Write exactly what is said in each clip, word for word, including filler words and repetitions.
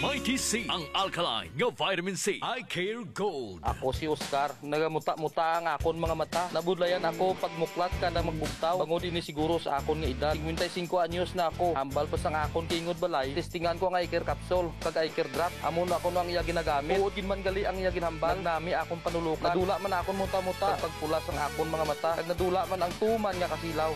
Mighty C, ang alkaline nga vitamin C. Eye Care Gold. Ako si Oscar. Nagamuta-muta ang akon mga mata. Nabudlayan ako pagmuklat kada magbugtaw. Bangod ini siguro sa akon nga edad. Singkwenta y singko anyos na ako. Hambal pa sang akon kaingod balay. Testingan ko ang Eye Care Capsule kag Eye Care Drop. Amo na kuno ang iya ginagamit. Tuod gid man gali ang iya ginhambal. Nagnami akon panulukan. Nadula man akon muta-muta. Kag pagpula sang akon mga mata. Kag nadula man ang tuman nga kasilaw.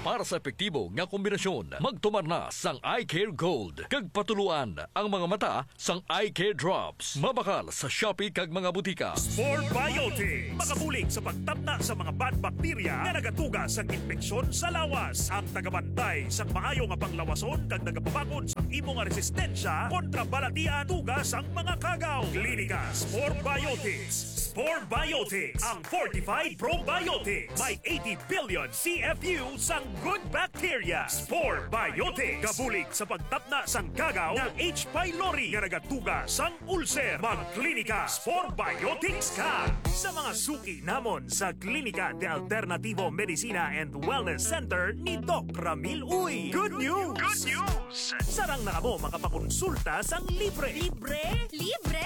Para sa epektibo nga kombinasyon, magtumar na sang Eye Care Gold kag patuluan ang mga mata sang Eye Care Drops. Mabakal sa Shopee kag mga butika. Spore Biotics. Makabulig sa pagtapna sa mga bad bakterya nga nagatuga sang impeksyon sa lawas. Ang tagabantay sang maayo nga panglawason kag nagapabakod sang imo nga resistensya kontra balatian tuga sang mga kagaw. Klinika Spore Biotics. Spore Biotics, ang fortified probiotics. May eighty billion C F U sang good bacteria. Spore Biotics. Kabulig sa pagtapna sang kagaw nga H. pylori nga nagatuga sang ulcer. Magklinika Spore Biotics ka. Sa mga suki namon sa Klinika de Alternativo Medicina and Wellness Center ni Doc Ramil Uy. Good news! Good news! Sarang na kamo makapakonsulta sang libre. Libre? Libre!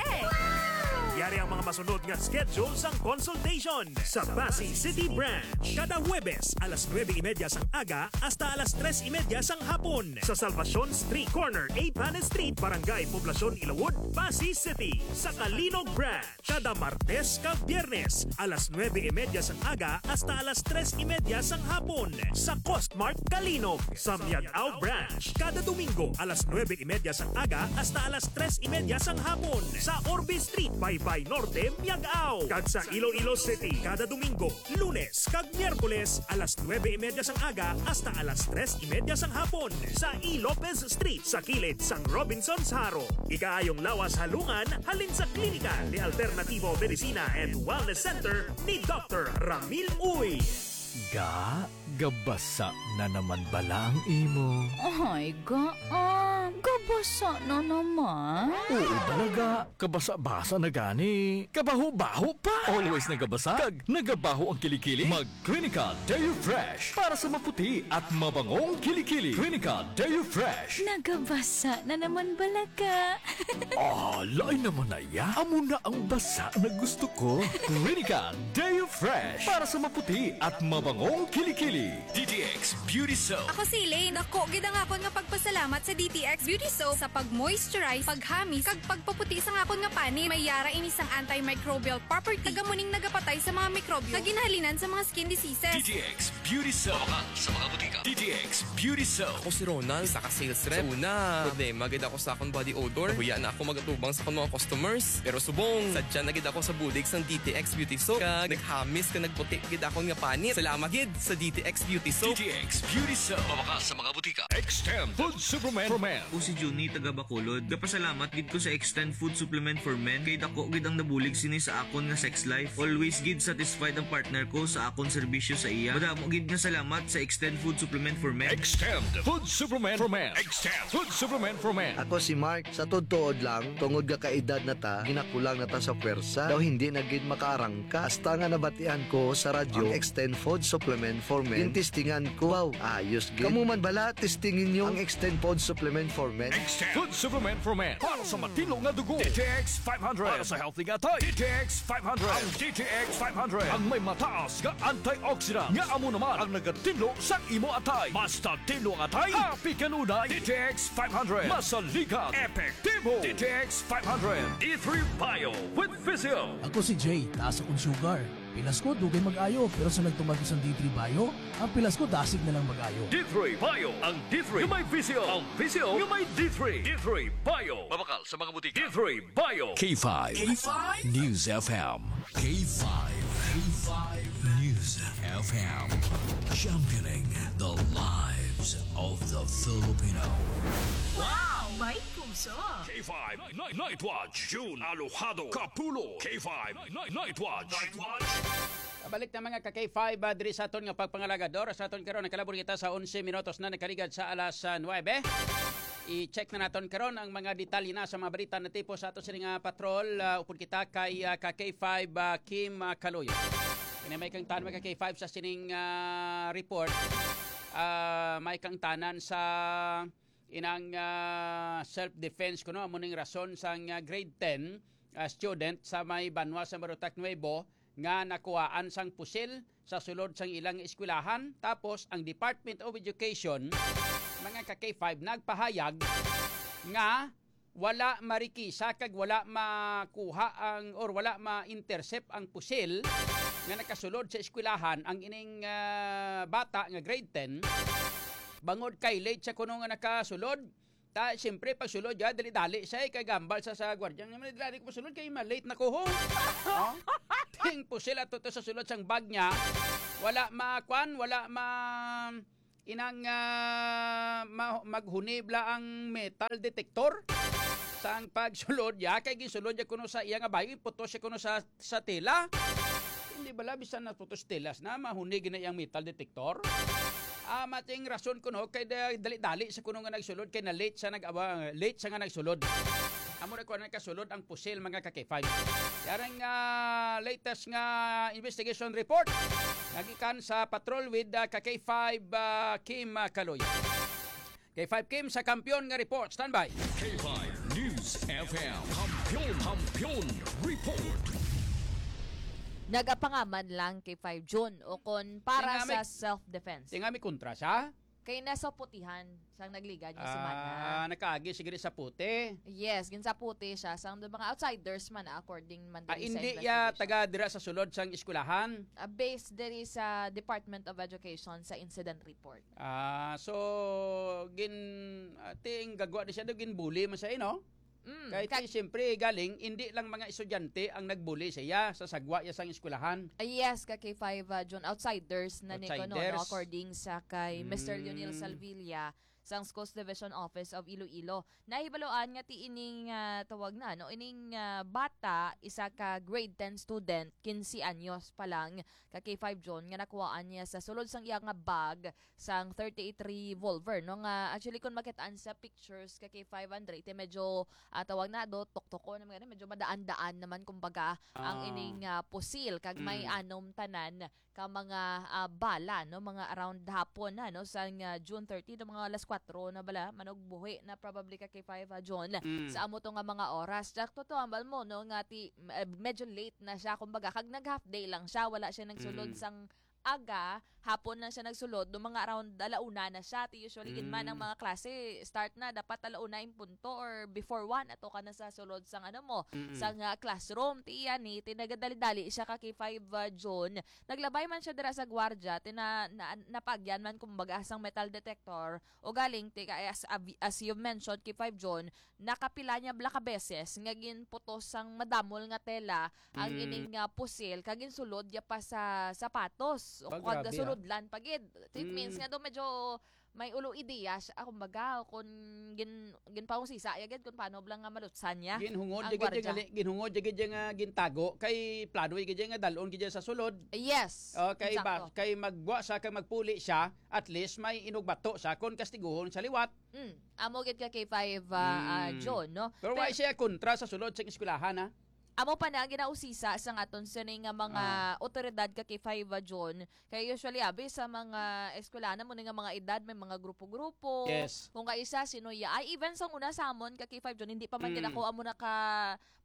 Yari ang mga masunod nga schedule sang consultation. Sa Passi City Branch, kada Huwebes, alas nuebe y media sang aga hasta alas tres y media sang hapon. Sa Salvacion Street, corner Eighth Street, Barangay Poblacion, Ilawod, Passi City. Sa Calinog Branch, kada Martes kag Biyernes, alas nuebe y media sang aga hasta alas tres y media sang hapon. Sa Costmart Calinog, sa Miag-ao Branch, kada Domingo, alas nuebe y media sang aga hasta alas tres y media sang hapon. Sa Orbe Street, Baybay Norte, Miag-ao. Kag sa Iloilo City, kada Domingo, Lunes kag Miyerkules, alas nuebe y media sang aga hasta alas tres y media sang hapon, sa E. Lopez Street, sa kilid sang Robinsons Jaro. Ikaayong lawas halungan halin sa Klinika de Alternativo Medicina and Wellness Center ni Doctor Ramil Uy. Ga, gabasa na naman bala ang imo? Ay, ga, ah, gabasa na naman. Oo, balaga. Kabasa-basa na gani. Kabaho-baho pa. Always nagabasa kag nagabaho ang kilikili. Mag Clinical Deo Fresh para sa maputi at mabangong kilikili. Clinical Deo Fresh. Nagabasa na naman bala ka. Ah, lain naman na ya. Amo na ang basa na gusto ko. Clinical Deo Fresh para sa maputi at mabangong kilikili. D T X Beauty Soap. Ako si Elaine. Dako gid ang akon nga pagpasalamat sa D T X Beauty Soap sa pag-moisturize, paghamis, kag pagpaputi sang akon nga panit. May yara ini sang antimicrobial property. Taga mo ning nagapatay sa mga mikrobyo nga ginhalinan sa mga skin diseases. D T X Beauty Soap. Mabakal sa mga butika. D T X Beauty Soap. Ako si Ronald, isa ka sales rep. Sa una, problema gid ako sa akong body odor. Nahuya na ako magatubang sa akong mga customers. Pero subong, sadya na gid ako sa bulig sang D T X Beauty Soap. Kag naghamis kag nagputi gid akon nga panit. Salamat gid sa D T X Beauty Soap. D T X Beauty Soap. Mabakal sa mga butika. Extend Food Supplement for Men. Ako si Junie, taga Bacolod. Gapasalamat gid ko sa Extend Food Supplement for Men kay dako gid ang nabulig sini sa akon nga sex life. Always gid satisfied ang partner ko sa akon serbisyo sa iya. Madamo gid nga salamat sa Extend Food Supplement for Men. Extend Food Supplement for Men. Extend Food Supplement for Men. Ako si Mark. Sa totoo lang, tungod nga kaedad na ta, ginakulang na ta sa pwersa. Daw hindi na gid makaarangka. Hasta nga nabatian ko sa radyo ang Extend Food Supplement for Men. Gintistingan ko. Wow, ayos gid. Kamo man bala, testingin nyo ang Extend Food Supplement for Men. Extend Food Supplement for Men. Para sa matino nga dugo, D T X five hundred. Para sa healthy nga atay, D T X five hundred. Ang D T X five hundred ang may mataas nga antioxidant nga amo naman ang nagatinlo sa imo atay. Mas tinlo ang atay, happy kanunay. D T X five hundred. Masaligan, epektibo. D T X five hundred. D three Bio with Physio. Ako si Jay, taas akong sugar. Pilas ko, dugay mag-ayo, pero sa nagtuman ko sa D three Bio, ang pilas ko dasig na lang mag-ayo. D three Bio, ang D three nga may Physio, ang Physio nga may D three. D three Bio. Mabakal sa mga butika. D three Bio. K five K five News F M. K five K five News F M. Championing the lives of the Filipino. Wow! May puso! K five Night, Night Watch, June Alojado Kapulo. K five Night, Night Watch. Kabalik na, mga ka K five, ah, diri sa aton nga pagpangalagador. Sa aton karon, nakalabor kita sa onse minutos na nakaligad sa alas, ah, nuebe. I-check na naton karon ang mga detalye na sa mga balita na tipo sa ato sini nga patrol. Ah, upod kita kay, ah, ka K five, ah, Kim, ah, Kaloyo. Kini may kangtanan, mga ka K five, sa sining, ah, report. Ah, may kangtanan sa Inang, ah, self-defense kuno, amo ning rason sang, ah, grade ten, ah, student sa may banwa sa Marutak Nuevo nga nakuhaan sang pusil sa sulod sang ilang eskwelahan. Tapos ang Department of Education, mga ka-K five, nagpahayag nga wala marikisa kag wala makuha ang, or wala ma-intercept ang pusil nga nakasulod sa eskwelahan ang ining, ah, bata nga grade ten, bangod kay late siya kuno nga nakasulod. Ta, siyempre, pag sulod, ya, dali-dali siya, eh, kay gambal sa, sa gwardiya. Nga, dali ko sulod, kay ma-late na ko, ho. Oh? Ting pusil ato to sa sulod sang bag niya. Wala ma-, kwan, wala ma-, inang, ah, ma-, maghunibla ang metal detector. Sang pagsulod, ya, kay ginsulod ya kuno sa iya nga bayo, putos siya kuno sa, sa tela. Hindi bala, bisan na putos telas na, mahunig na iyang metal detector. Ah, mating rason kuno kay da-, dali-dali sa kuno nga nagsulod, kay na late sa nag-, ah, late sa nga nagsulod. Amo na kuno nagkasulod ang pusil, mga ka-K five. Yarang, ah, latest nga investigation report nagikan sa patrol with, ah, ka-K five, ah, Kim, ah, Kaloy. K five Kim sa Kampiyon nga report. Standby. K five News F M. Kampiyon, Kampiyon Report. Nagapangaman lang K five June o kon para Tingami- sa self-defense. Tingami kontra siya? Kay nasa putihan sang nagligad nga semana. Ah, nakaagi siguro sa puti. Yes, ginsaputi siya sang mga outsiders man, according man Ah, diri sa hindi ya investigation. Taga dira sa sulod sang eskwelahan. Ah, based diri sa Department of Education sa incident report. Ah, so gin ah, ting gagwa di siya do, ginbuli man siya, eh, no? Mm, Kahit ka- ti, siyempre, galing, hindi lang mga estudyante ang nagbuli sa iya sa sagwa iya sang eskwelahan. Ah, yes, ka K five, ah, June, outsiders na ni kuno, no? Outsiders. According sa kay Mister Lionel Mm. Salvilla, sang Schools Division Office of Iloilo. Nahibaluan nga ti ining, ah, tawag na, no? Ining, ah, bata, isa ka grade ten student, quince anyos pa lang, ka K five June, nga nakuhaan niya sa sulod sang iya nga bag sang thirty-eight revolver, no? Nga, actually, kung makitaan sa pictures ka K five Andre, ti medyo, ah, tawag na do, tuktuko na mga, medyo madaan-daan naman, kumbaga, ang Ah. ining, ah, pusil, kag may Mm. anom tanan ka mga, ah, bala, no? Mga around hapon na, no? Sang, ah, June thirty, no? Mga alas kuwatro na bala, manugbuhi na probably ka K five, ah, June, Mm. sa amo to nga mga oras. Sakto to, ambal mo, no? Nga ti, eh, medyo late na siya, kumbaga, kag nag-half day lang siya, wala siya nagsulod Mm. sang aga, hapon lang siya nagsulod, no, mga around alauna na siya. Ti usually gid man ang Mm. mga klase, start na dapat alauna in punto or before one, ato ka na sa sulod sang ano mo, Mm-mm. sang, ah, classroom. Ti iya ni, ti nagadali-dali siya ka K five, ah, June. Naglabay man siya dira sa gwardiya, ti na, na, napaagyan man kumbaga sang metal detector. O galing, ti kay as, as you've mentioned, K five June, nakapila niya bala ka beses nga ginputos sang madamol nga tela ang Mm. ining, ah, pusil, kag ginsulod niya pa sa sapatos. O Ah, kag grabe, ah. sulodlan pa gid. It means Mm. nga do medyo may ulo ideya siya, ah, kumbaga, kung gin-, ginpausisa ya gid kung paano bala nga malutsan niya Ginhungod ang ya gid ya gwardiya. nga li-, ginhungod ya gid ya nga gintago, kay plano ya gid ya nga dalon gid ya sa sulod. Yes, Okay, ba, insakto. kay magwa sa, kay magpuli siya, at least may inugbato siya kung kastiguhon sa liwat. Mm. Amo gid ka K five, ah, ah, Mm. John, no? Pero Pero wala siya kontra sa sulod sa eskwelahan, ha? Amo pa na ang ginausisa sa aton sini nga mga Ah. otoridad ka K five, ah, John. Kay usually, abi, sa mga eskwelahan mo ni nga mga edad, may mga grupo-grupo. Yes. Kung kaisa, sino ya-, ay, even sa una sa amon ka K five, John, hindi pa man gid Mm. ako amo na ka,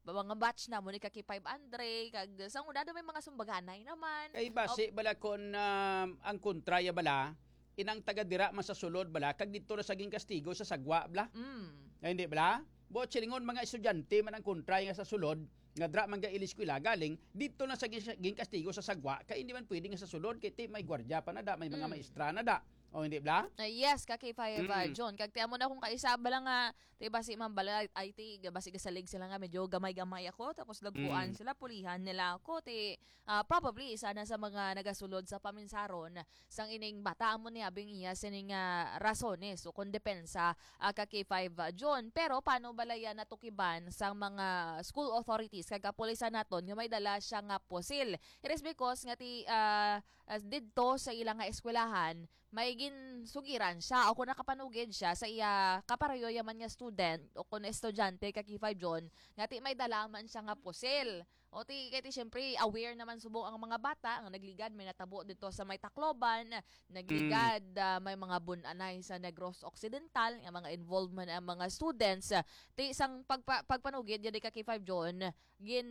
mga batch na mo ni ka K five Andre, kag sa una daw may mga sumbaganay naman. Kay basi Op- bala kon, um, ang kontra ya bala, inang taga dira man sa sulod bala, kag dito na sa ginkastigo sa sagwa bala. Mm. Ay, hindi bala? Buot silingon, mga estudyante man ang kontra nga sa sulod, nga dira man ga iliskwela, galing, dito na sa gin-, ginkastigo sa sagwa, kay hindi man pwede nga sa sulod, kay ti may gwardiya pa na da, may mga Mm. maestra na da. O, hindi bala? Ah, yes, ka K five, ah, Mm. John. Kag ti amo na kung kaisa bala nga, ti basi man bala, ay ti, basi gasalig sila nga medyo gamay-gamay ako, tapos dagkuan Mm. sila, pulihan nila ako, ti, ah, probably isa na sa mga nagasulod sa paminsaron sang ining bata. Amo ni abing iya sining, ah, rasones o kon depensa, ah, ka K five, ah, John. Pero paano bala yan natukiban sang mga school authorities kag kapulisan naton nga may dala siya nga pusil? It is because nga ti, ah, ah, didto sa ila nga eskwelahan, may ginsugiran siya o kung nakapanugid siya sa iya kaparayo yaman nga student o kung estudyante ka K five John, nga ti may dala man siya nga pusil. O ti, kay ti, siyempre, aware naman subong ang mga bata, ang nagligad, may natabo dito sa may Tacloban, nagligad, ah, may mga bun-anay sa Negros Occidental, nga mga involvement ang mga students. Ah, ti, sang pagpa-, pagpanugid, yan ka K five John, gin,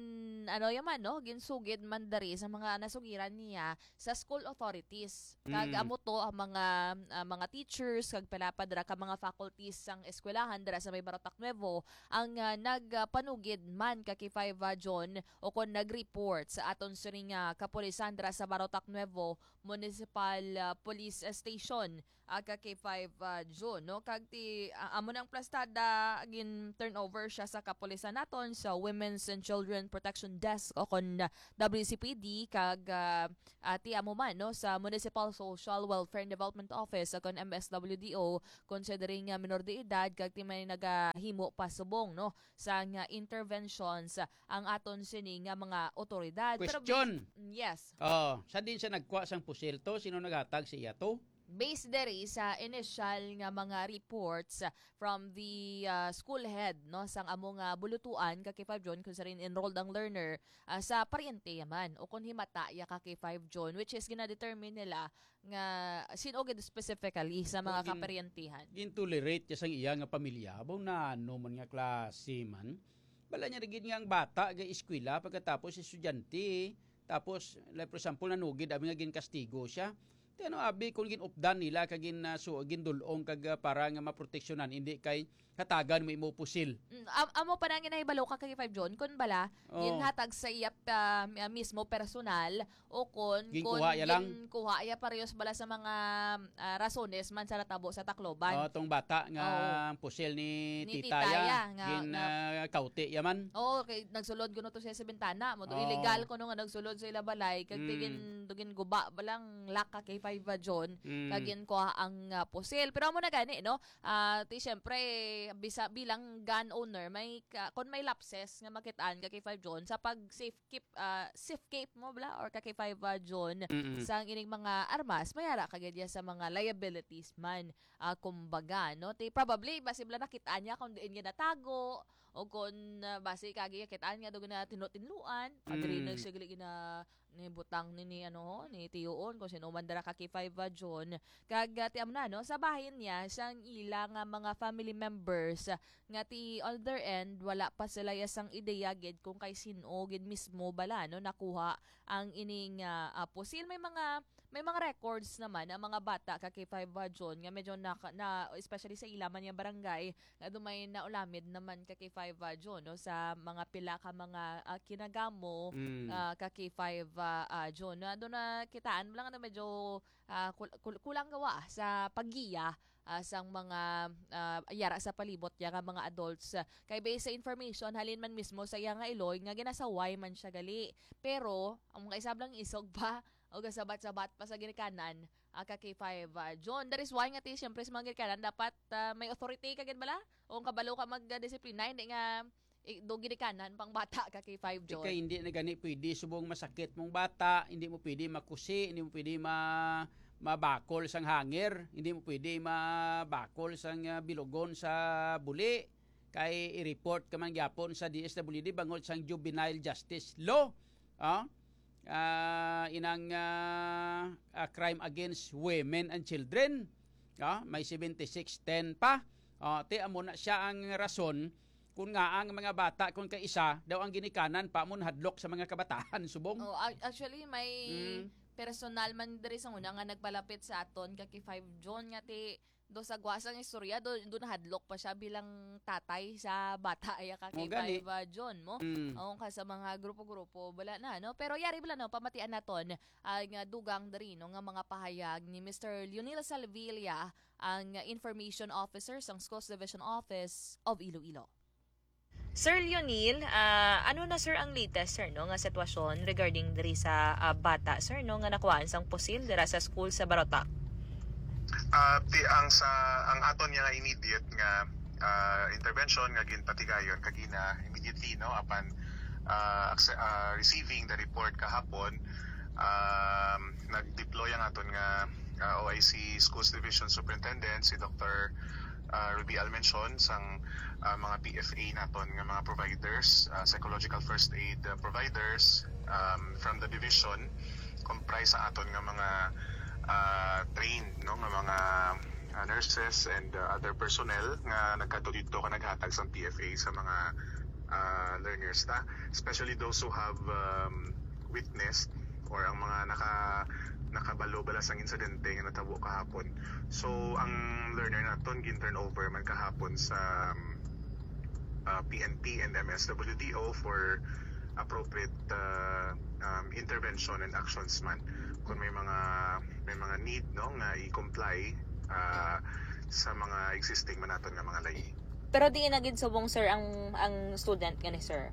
ano yaman, no? Ginsugid man dari sa mga nasugiran niya sa school authorities. Kag Mm. amo to ang mga, ah, mga teachers, kag pila pa dira ka mga faculties sang eskwelahan dira sa may Barotac Nuevo, ang, ah, nagpanugid man ka K five, ah, John, o kon nag-report sa aton sining, ah, kapulisan dira sa Barotac Nuevo Municipal, ah, Police Station, ah, ka K five, ah, John, no? Kag ti, ah, amo nang plastada, gin-turnover siya sa kapulisan naton sa Women's and Children Protection Desk o kon W C P D, kag, ah, ah, ti amo man, no, sa Municipal Social Welfare and Development Office o kon M S W D O, considering nga minor de edad, kag ti may nagahimo pa subong, no, sang, ah, interventions, ah, ang aton sini nga mga otoridad. Pero Question. Bas-, yes. Oh, sa din siya nagkuha sang pusil to? Sino naghatag sa iya to? Based diri sa initial nga mga reports from the, ah, school head, no, sang amo nga bulutuan ka K five John, kung sa rin enrolled ang learner, ah, sa paryente yaman o kung himata ya ka K five John, which is ginadetermine nila nga sin-o gid specifically sa mga Kung gin-, kaparyentehan. Gintolerate ya sang iya nga pamilya, abo na ano man nga klase man. Bala niya gid nga ang bata ga eskwela pagkatapos estudyante, tapos, like, for example, nanugid, abi nga ginkastigo siya. Ti ano, abi, kung ginupdan nila kag gin, ah, su-, gindul-ong kag, ah, para nga maproteksyonan, hindi kay hatagan mo imo pusil. Mm, am-, amo pa nang ginahibalo ka kay Five John, kun bala, Oh. ginhatag sa iya pa, ah, mismo personal, o kun, Ginkuha kun ya lang. ginkuha ya parehas bala sa mga, ah, rasones man sa natabo sa Tacloban. Oh, tong bata nga Oo. ang pusil ni Ni tita tita ya, ya, nga, gin, nga ah, kauti ya man. Oo, kay nagsulod kuno to siya sa bintana mo. Do Oh. illegal kuno nga nagsulod sa ila balay, kag Mm. tigin, dugin guba balang laka kay Five John, Mm. kag ginkuha ang, ah, pusil. Pero amo na gani, no? Ah, ti, siyempre, bisa, bilang gun owner, may ka-, kung may lapses nga makitaan ka kay Five John, sa pag safe keep, ah, safe keep mo, bala, or ka kay Five, ah, John, Mm-mm. sang ining mga armas, may ara ka gid ya sa mga liabilities man, ah, kumbaga, no? Ti, probably, basi bala nakitaan niya kung diin niya natago, o kung, ah, basi kagi kitaan niya, doon na tinlo-tinluan, padri Mm. na siya gali gina-, ni butang ni, ni, ano, ni Tiyoon, kung sino man dara ka kay Five, ah, John. Kag, ah, ti amo na, no, sa bahin niya, sang ila nga mga family members, ah, nga ti on their end, wala pa sila ya sang ideya gid kung kay sin-o gid mismo bala, no, nakuha ang ining, ah, ah, pusil. May mga, may mga records naman ang mga bata ka kay Five, ah, John, nga medyo naka-, na, especially sa ila man nga barangay, nga dumay naulamid naman ka kay Five, ah, John, no, sa mga pila ka mga, ah, kinagamo, Mm. ah, ka kay Five, ah, ah, John. Na, doon na kitaan mo lang na medyo, ah, kul-, kul-, kulang gawa sa paggiya, ah, sang mga, ah, yara sa palibot ya nga mga adults. Kay based sa information, halin man mismo sa iya nga iloy nga ginasaway man siya gali. Pero, ang mga isab lang isog pa, o gasabat-sabat pa sa ginikanan, ah, ka kay Five, ah, John. That is why nga ti, siyempre, sa mga ginikanan, dapat, ah, may authority ka gid bala? O ang kabalo ka magdisiplina, hindi nga, i-, do ginikanan pang bata ka kay Five, John. Ikay, hindi na gani pwede subong masakit mong bata, hindi mo pwede makusi, hindi mo pwede ma-, mabakol sang hanger, hindi mo pwede mabakol sang, ah, bilugon sa buli. Kay i-report ka man gyapon sa D S W D bangod sang juvenile justice law. Ah, ah, inang, ah, ah, crime against women and children. Ah, may seventy-six ten pa. Ah, ti amo na siya ang rason kung nga ang mga bata, kung kaisa daw ang ginikanan pa mo nahadlok sa mga kabataan, subong. Oh, ac-, actually, may Mm. personal man diri sa una nga nagpalapit sa aton, ka kay Five John, nga ti do sa gwasang istorya, do, do nahadlok pa siya bilang tatay sa bata, aya ka kay Mo gani. Five, ah, John mo. Mm. O, ka sa mga grupo-grupo, wala na, no? Pero yari bala, no, pamatian naton ang, ah, dugang diri, no, nga mga pahayag ni Mister Leonel Salvilla, ang Information Officer sang Schools Division Office of Iloilo. Sir Leonel, ah, ano na, sir, ang latest, sir, no, nga sitwasyon regarding diri sa, ah, bata, sir, no, nga nakuhaan sang pusil dira sa school sa Barotac? Ah, ti-, ang sa, ang aton nga immediate nga, ah, intervention nga ginpatigayon kagina, immediately, no, apan, ah, acce-, ah, receiving the report kahapon, um, nag-deploy ang aton nga, ah, O I C Schools Division Superintendent, si Doktor, uh, Ruby Almension sang uh, mga P F A naton nga mga providers, uh, psychological first aid uh, providers um, from the division, comprise sa aton nga mga uh, trained, no, nga mga uh, nurses and uh, other personnel nga nagkadto dito ka naghatag sang P F A sa mga uh, learners ta, especially those who have um, witnessed or ang mga naka nakabalo bala sang insidente nga natabo kahapon. So ang learner naton gin turn over man kahapon sa um, uh, P N P and M S W D O for appropriate uh, um, intervention and actions man kung may mga may mga need, no, nga i-comply uh, sa mga existing man naton nga mga layi. Pero di na gid subong, sir, ang ang student gani, sir?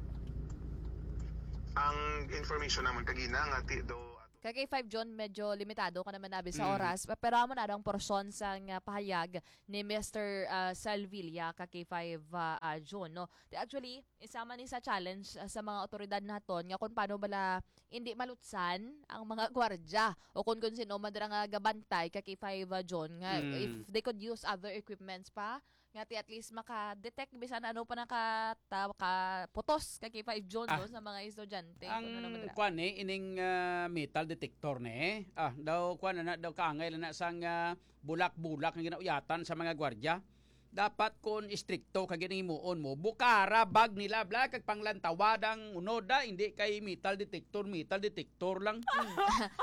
Ang information naman kagina nga ti do Ka K five John, medyo limitado ka naman abi sa Mm. oras, pe-, pero amo na ang porsyon sa nga pahayag ni Mister, ah, Salvilla, ka K five, ah, ah, John, no? Di, actually, isa man ni sa challenge, ah, sa mga otoridad naton nga kung paano bala hindi malutsan ang mga gwardya o kung, kung sino man dira nga gabantay, ka K five, ah, John, nga Mm. if they could use other equipments pa, nga ti at least maka-detect bisan ano pa naka-, ta-, kaputos, ka K five John, Ah, no, sa mga estudyante. Kung ano man ang dira. Kwan ni, ining, ah, metal detector ni. Ah, daw kwan na, daw kaangay na sang, ah, bulak-bulak nga ginauyatan sa mga gwardya. Dapat kon istrikto ka ginahimuon mo, bukara bag nila bla kag panglantawa dang unoda, hindi kay metal detector, metal detector lang.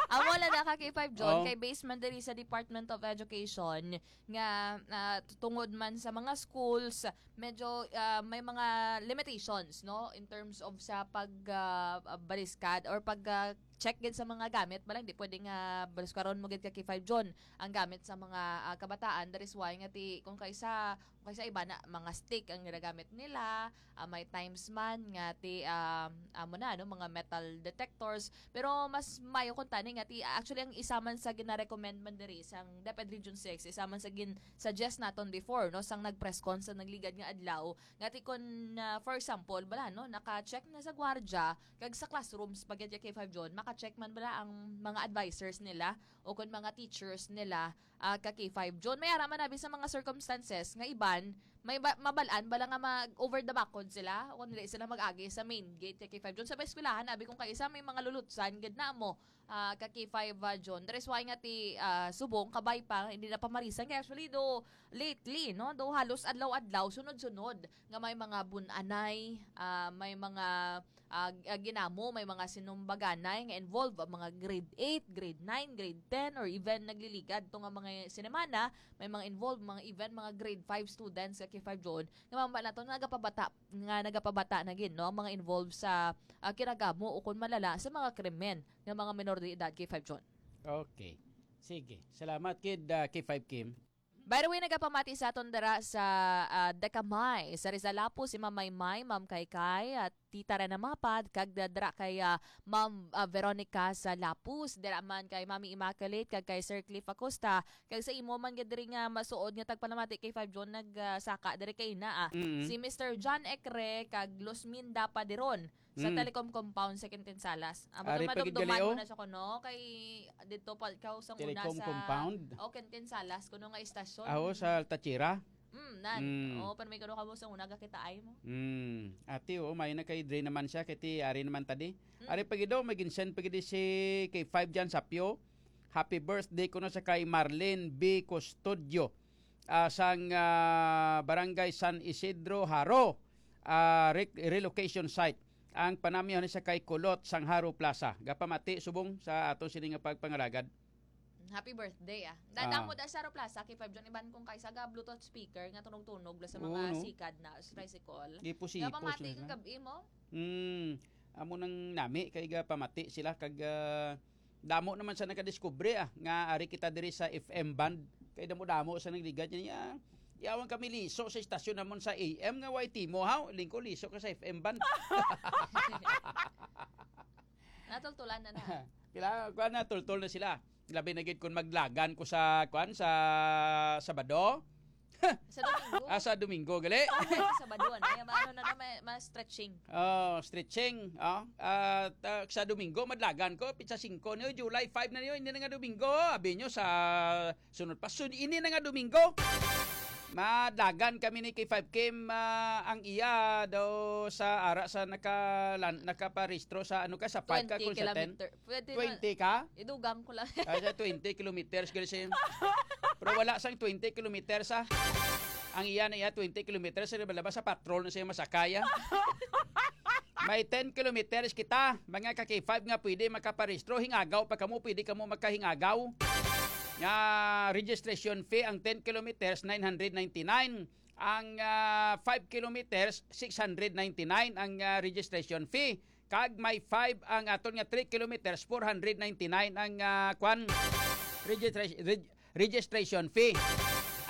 Amo lang na ka K five John, Oh. kay based man diri sa Department of Education, nga, ah, tungod man sa mga schools, medyo, ah, may mga limitations, no, in terms of sa pag, ah, ah, baliskad or pag, ah, check gid sa mga gamit. Bala, hindi pwede nga baliskaron mo gid ka K five John ang gamit sa mga, ah, kabataan. That is why nga ti, kung kaysa, kung kaysa iba na, mga stick ang ginagamit nila, ah, may times man nga ti, ah, amo na, no, mga metal detectors. Pero mas mayo kung tani nga ti, actually, ang isa man sa gina-recommend man diri sang DepEd Region six, isa man sa gin-suggest naton before, no, sang nag-press con sa nagligad nga adlaw, nga ti kun, ah, for example, bala, no, naka-check na sa gwardiya, kag sa classrooms, pag K five John, maka-check man bala ang mga advisors nila o kun mga teachers nila, ah, ka K five John. May ara man abi sa mga circumstances nga iban, may ba, mabalaan bala nga mag over the backod sila o kung dili sila mag-agi sa main gate ka K five John. Sa eskwelahan, abi kung kaisa may mga lulutsan gid na mo, ah, ka K five, ah, John. That is why nga ti, ah, subong, kabay pa, hindi na pamarisan. Kaya actually, do lately, no, do halos adlaw-adlaw, sunod-sunod nga may mga bunanay, ah, may mga ah, g-, ah, ginamo, may mga sinumbaganay nga involved, ang mga grade eight, grade nine, grade ten, or even nagliligad to nga mga sinemana, may mga involved, mga even mga grade five students ka K five John, nga mamba nato nga nagapabata, nga nagapabata na gid, no, ang mga involved sa, ah, kinagamo o kung malala sa mga krimen nga mga menor de edad ka K five John. Okay. Sige. Salamat kid, ah, K five Kim. By the way, nagapamati sa aton dira sa, ah, Decamay, sa Rizal Lapus, si Ma'am Maymay, Ma'am Kaykay, at Tita Rana Mapad, kag da-, dira kay, ah, Ma'am, ah, Veronica sa Lapus, dira man kay Mami Immaculate, kag kay Sir Cliff Acosta, kag sa imo man gid diri nga masuod nga tagpalamati kay Five John nag, ah, saka diri kay ina, ah. Mm. Si Mister John Ekre kag Luzminda Padiron sa Mm. Telecom Compound sa Quintin Salas. Amo Ari to pa gid madumduman gali, mo oh. na siya kuno kay dito pa ikaw sa una Telecom sa Compound? Oh, Quintin Salas kuno nga istasyon. Aho sa Altachira? Mm, nan. Mm. Oh, pero may kuno kamo sa una gakita ay mo. Mm. Ati, oh, may na kay Dre naman siya, kay ti ari naman tadi. Mm. Ari pa gid, oh, may ginsend pa gid si kay Five Jan Sapyo. Happy birthday kuno sa kay Marlene B Custodio, ah, sang, ah, Barangay San Isidro, Jaro, ah, re-, relocation site. Ang panamyo ni sa kay Kulot sang Jaro Plaza. Gapamati subong sa ato sini nga pagpangalagad. Happy birthday, ah. Ah. Dadamo da sa Jaro Plaza, kay Five John, iban kung kaysa ga Bluetooth speaker nga tunog-tunog la sa mga Oo, no? sikad na sa tricycle. Gipusipo Gapamati sila kang na. gabi mo? Hmm. Amo nang nami kay gapamati sila kag, ah, damo naman sa nakadiskubre, ah, nga ari kita diri sa F M band. Kay damo-damo sa nagligad niya. Yawan kami liso sa istasyon namon sa A M nga Y T mo, haw? Lingko liso ka sa F M band. Natultulan na na. Kila, kuwan na, tultol na sila. Labi na gid kung maglagan ko sa, kuwan, sa Sabado. Sa Domingo. Ah, sa Domingo, gali. Ay, sa Sabado, ano? Ay, ano na, na, may, may stretching. Oh, stretching. Oh, at, ah, sa Domingo, madlagan ko, pitsa singko niyo, July five na niyo, hindi na nga Domingo. Abi niyo sa sunod pa, sun-, hindi na nga Domingo. Madagan kami ni K five Kim, ah, ang iya daw sa ara sa naka-, lan-, nakaparehistro sa ano ka, sa five ka twenty kung sa ten? Kilometer. Pwede na, twenty ka? Idugang ko lang. Ah, sa twenty kilometers, girl, siya. Pero wala sang twenty kilometers, ah. Ang iya na iya, twenty kilometers, sa laba sa patrol na siya masakay, ah. May ten kilometers kita, mga ka-K five nga pwede makaparehistro. Hingagaw pa kamo, pwede kamo makahingagaw. Nga registration fee ang ten kilometers, nine hundred ninety-nine. Ang, ah, five kilometers, six hundred ninety-nine ang, ah, registration fee. Kag may five ang aton nga three kilometers, four hundred ninety-nine ang, ah, kwan, registra-, reg-, registration fee.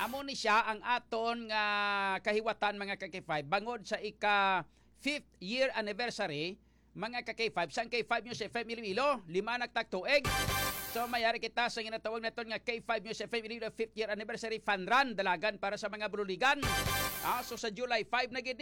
Amo ni siya ang aton nga kahiwatan, mga ka-K five. Bangod sa ika fifth year anniversary, mga ka-K five, sang K five News F M Iloilo, lima na ka tuig. So, mayari kita sa ginatawag naton nga K five News F M Iloilo fifth year anniversary fun run, dalagan para sa mga Buruligan. Ah, so, sa July five na gid